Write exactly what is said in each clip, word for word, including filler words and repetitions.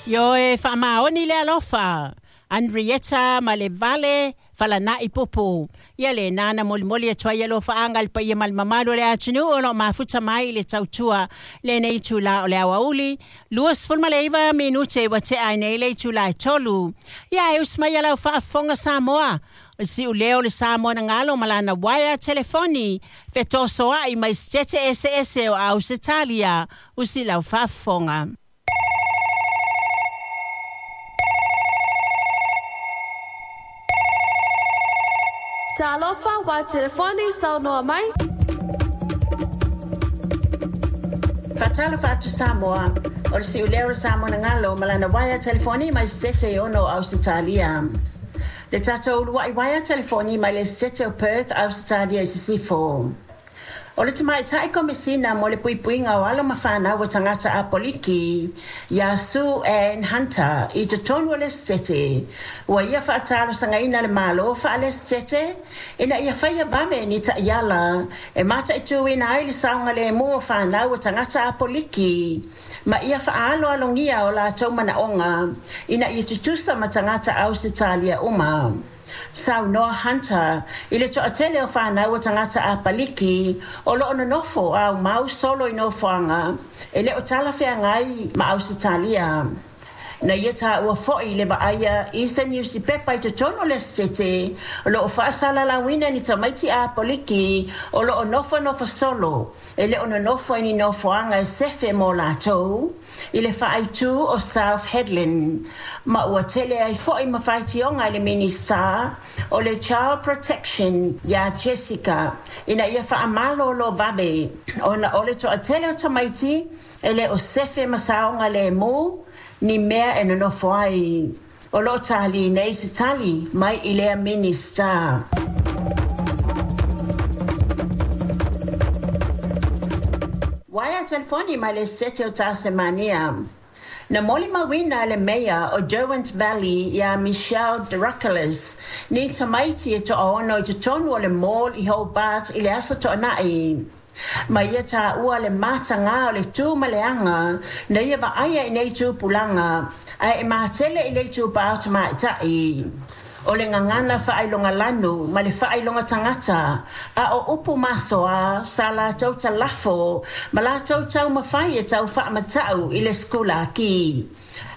Ioe faamaoni le alofa Andrietta ma le vale falana'i pupu. Ia le nana molimoli atu ai alofaaga i le paia ma le mamalu o le atunuu o loo mafuta mai i le tautua lenei itulā o le aoauli luasefulu ma le iva minute ua tea ai nei le itulā e tolu. Ia e usi mai alau faafofoga Samoa, o le si'uleo o le Samoa na galo ma lana uaea telefoni fetosoa'i mai setete eseese o Ausetalia usi lau faafofoga. Talofa wa telefoni saunoa mai. Faatalofa atu Samoa, o le si'uleo o le Samoa na galo ma lana uaea telefoni mai setete e ono o Ausetalia. Le tatou ulua'i uaea telefoni mai le setete o Perth, Ausetalia i Sisifo. O le tamaitai komesina mo le puipuiga o alo ma fanau o tagata apoliki iā Sue Ann Hunter i totonu o le setete, ua ia faatalosagaina le Mālō faalesetete ina ia faia vave ni taʻiala e mataituina ai le saogalēmū o fanau o tagata apoliki ma ia faaaloalogia o latou manaoga ina ia tutusa ma tagata Ausetalia uma. Saunoa Hunter i le toatele o fanau o tagata apaliki o loo nonofo aumau solo i nofoaga e le o talafeagai ma Ausetalia. Na ia taua fo'i le vaaia i se niusipepa i totonu o le setete o loo faasalalauina ni tamaiti apoliki o loo nofonofo solo e le o nonofo i ni nofoaga e sefe mo latou i le faaitū o South Hedland, ma ua tele ai fo'i ma faitioga i le Minista o le Child Protection iā Jessica ina ia faamalōlō vave ona o le toatele o tamaiti e le o sefe ma saogalēmū ni mea e nonofo ai. O loo tālī nei se tali mai i lea Minista. Uaea telefoni mai le setete o Tasemania. Na molimauina le meia o Derwent Valley iā Michelle Drakoulias ni tamaiti e toaono i totonu o le mall i Hobart i le aso toana'i. Ma ia taua le matagā o le tū ma le aga na ia vaaia i nei tupulaga ae e matele i le itupā o tamaita'i. O le gagana faailoga lanu ma le faailoga tagata a o upu masoā sa latou talafo ma latou taumafai e tau faamata'u i le sekulaki.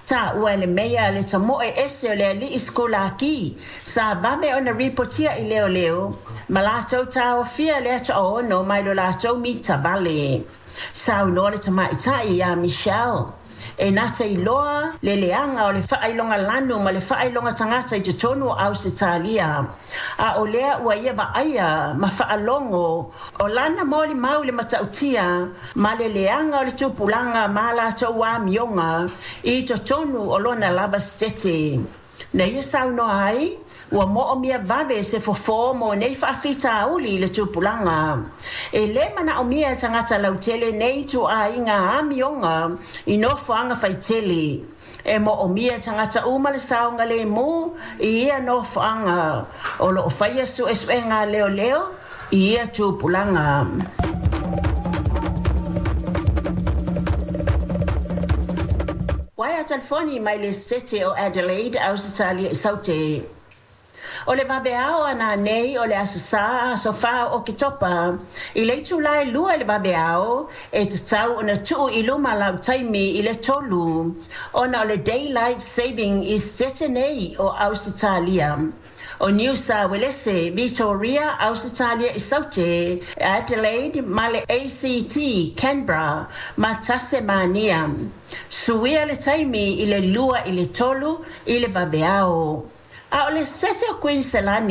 Taua e le meia le tamoe ese o le alii sekulaki sa vave ona ripotia i leoleo ma latou taofia lea toaono mai lo latou mita vale. Saunoa le tamaita'i iā Michelle e nata iloa le leaga o le faailoga lanu ma le faailoga tagata i totonu o Ausetalia. A o lea ua ia vaaia ma faalogo o lana molimau le matautia ma le leaga o le tupulaga ma latou amioga i totonu o lona lava setete. Na ia saunoa ai ua moomia vave se fofō mo nei faafitauli i le tupulaga. E lē manaomia e tagata lautele nei ituaiga amioga i nofoaga faitele. E moomia e tagata uma le saogalēmū i ia nofoaga o loo faia suesuega a leoleo i ia tupulaga. Uaea telefoni mai le setete o Adelaide, Ausetalia i Saute. O le vaveao ana nei o le aso Sā aso whā o Oketopa. I le itulā e lua i le vaveao e tatau ona tuu i luma lau taimi i le tolu. Ona o le Daylight Saving i setete nei o Ausetalia. O New South Wales, Victoria, Ausetalia i Saute, Adelaide ma le A C T, Canberra ma Tasemania. Suia le taimi i le lua i le tolu i le vaveao. A o le setete o Queensland,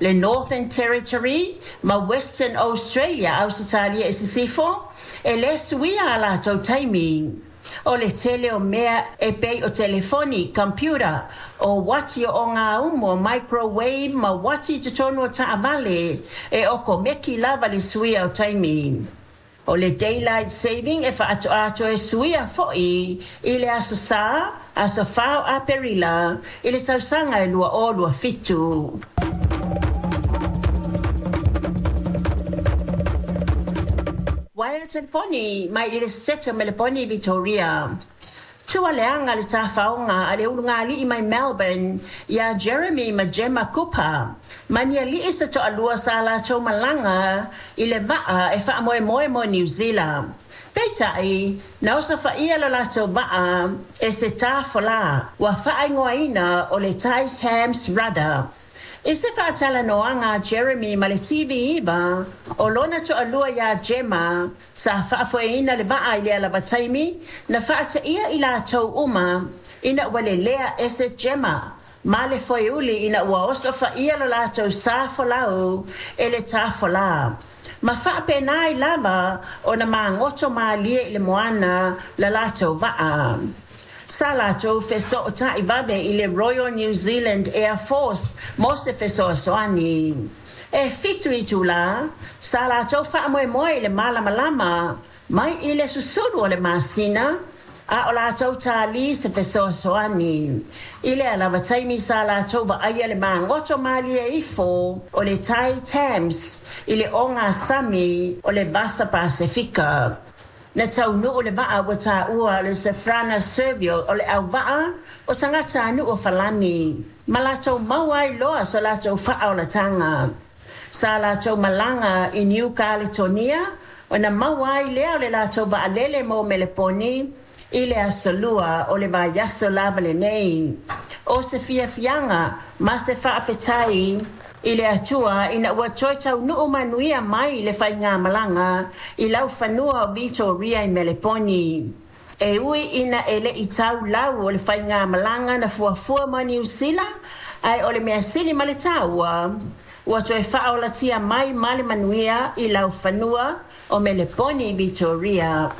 le Northern Territory ma Western Australia, Ausetalia i Sisifo, e lē suia a latou taimi. O le tele o mea e pei o telefoni, computer, o uati o gaumu, o microwave ma uati i totonu o taavale e okomeki lava le suia o taimi. O le Daylight Saving e faatoa e suia fo'i i le aso Sā, aso whā o Aperila, i le tausaga e lua o lua fitu. Uaea telefoni mai i le setete o Meleponi Victoria. Tualeaga le tafaoga a le ulugalii mai Melbourne iā Jeremy ma Gemma Cooper ma ni ali'i se to'alua sa latou malaga i le va'a e fa'amoemoe mo Niusila. Peita'i, na osofa'ia lo latou va'a e se tafolā ua fa'aigoaina o le Tai Thames Rudder. I se fa'atalanoaga a Jeremy ma le T V iva, o lona to'alua iā Gemma sa fa'afoeina le va'a i lea lava taimi, na fa'ata'ia i latou uma ina ua lelea ese Gemma ma le foeuli ina ua osofa'ia lo latou sa folau e le tafolā ma fa'apena ai lava ona magoto mālie i le moana la latou va'a. Sa latou feso'ota'i vave i le Royal New Zealand Air Force mo se fesoasoani. E fitu itulā sa latou fa'amoemoe i le malamalama mai i le susulu o le masina a o latou tālī se fesoasoani. I lea lava taimi sa latou va'aia le magoto mālie ifo o le Tai Thames i le ogasami o le Vasa Pasefika. Na taunu'u le va'a ua tāua o le Safrana Servil o le auva'a o tagatanu'u o Falani ma latou maua ai loa so latou fa'aolataga. Sa latou malaga i New Caledonia ona maua ai lea o le latou va'alele mo Meleponi i le asolua o le vaiaso lava lenei. O se fiafiaga ma se fa'afetai i le Atua ina ua toe taunu'u manuia mai le faigamalaga i laufanua o Vitoria i Meleponi. E ui ina e le'i tau lau o le faigamalaga na fuafua ma Niusila, ae o le mea sili ma le tāua, ua toe fa'aolatia mai ma le manuia i laufanua o Meleponi, Vitoria.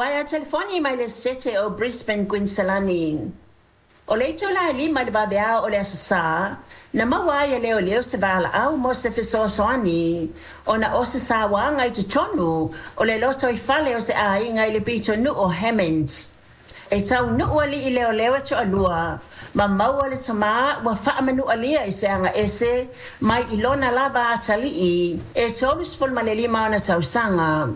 Uaea telefoni mai le Setete o Brisbane, Kuiniselani. O le itulā e lima i le vaveao o le Aso Sā, na maua ai e leoleo se valaau mo se fesoasoani ona o se sauaga i totonu o le lotoifale o se aiga i le pitonu'u o Hammond. E taunu'u ali'i leoleo e to'alua ma maua le tamā ua fa'amanu'alia i se aga ese mai i lona lava atali'i e tolu sefulu ma le lima ona tausaga.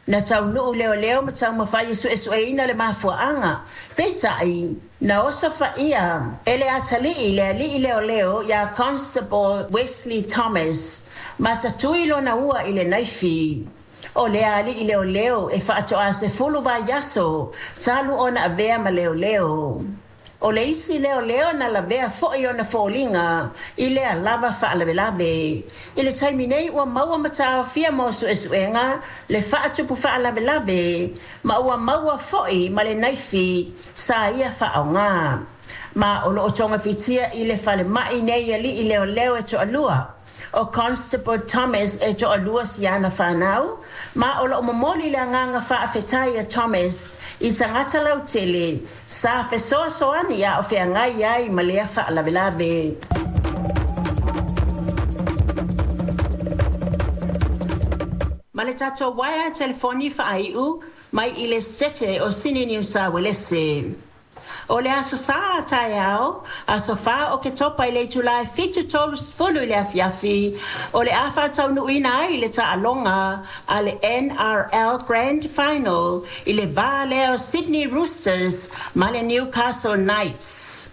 Na taunu'u leoleo ma taumafai e su'esu'eina le mafua'aga, peita'i na osofa'ia e le atali'i le ali'i leoleo iā Constable Wesley Thomas ma tatui lona ua i le naifi. O lea ali'i leoleo e fa'ato'a sefulu vaiaso talu ona avea ma leoleo. O le isi leoleo na lavea fo'i ona foliga i lea lava fa'alavelave. I le taimi nei ua maua ma taofia mo su'esu'ega le fa'atupu fa'alavelave ma ua maua fo'i ma le naifi sa ia fa'aogā. Ma o lo'o togafitia i le falema'i nei ali'i leoleo e to'alua. O Constable Thomas e to'alua siana fanau ma o lo'o momoli le agaga fa'afetai a Thomas i tagata lautele sa fesoasoani a o feagai ai ma lea fa'alavelave. Ma le tatou uaea telefoni fa'ai'u mai i le Setete o Sini Niusa Uelese. O le Aso Sā taeao, aso fā o Ketopa i le itulā e fitu tolu sefulu i le afiafi, o le a fa'ataunu'uina ai le ta'aloga a le N R L Grand Final i le va lea o Sydney Roosters ma le Newcastle Knights.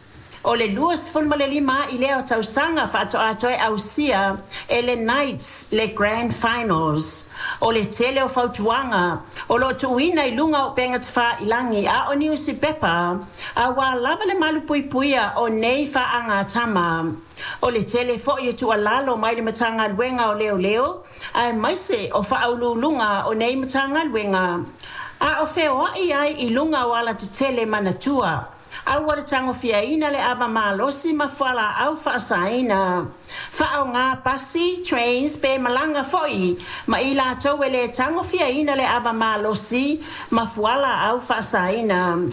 O le lua sefulu ma le lima i lea o tausaga fa'ato'a toe ausia e le Knights le Grand Finals. O le tele o fautuaga o lo'o tu'uina i luga o upega tafailagi a o niusipepa auā lava le malupuipuia o nei fa'agatama. O le tele fo'i e tu'alalo mai le Matagaluega o Leoleo aemaise o fa'auluuluga o nei Matagaluega a o feoa'i ai i luga o alatetele manatua aua le tagofiaina le ava malosi ma fuala'au fa'asaina. Fa'aogā pasi, trains pe malaga fo'i ma i latou e lē tagofiaina le ava malosi ma fuala'au fa'asaina.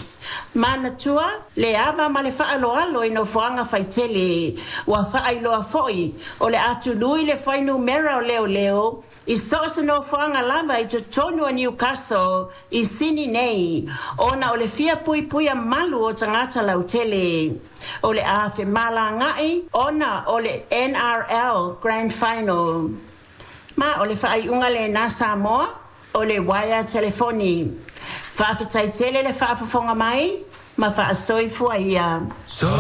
Manatua le ava ma le fa'aloalo i nofoaga faitele. Ua fa'ailoa fo'i o le atului le fuainumera o leoleo i so o se nofoaga lava i totonu o Newcastle i Sini nei ona o le fia puipuia malu o tagata lautele. O le a femalaga'i ona o le N R L Grand Final. Ma o le fa'ai'uga lenā Samoa. o le uaea telefoni. Faafetai tele le faafofoga mai ma faasoifua ia.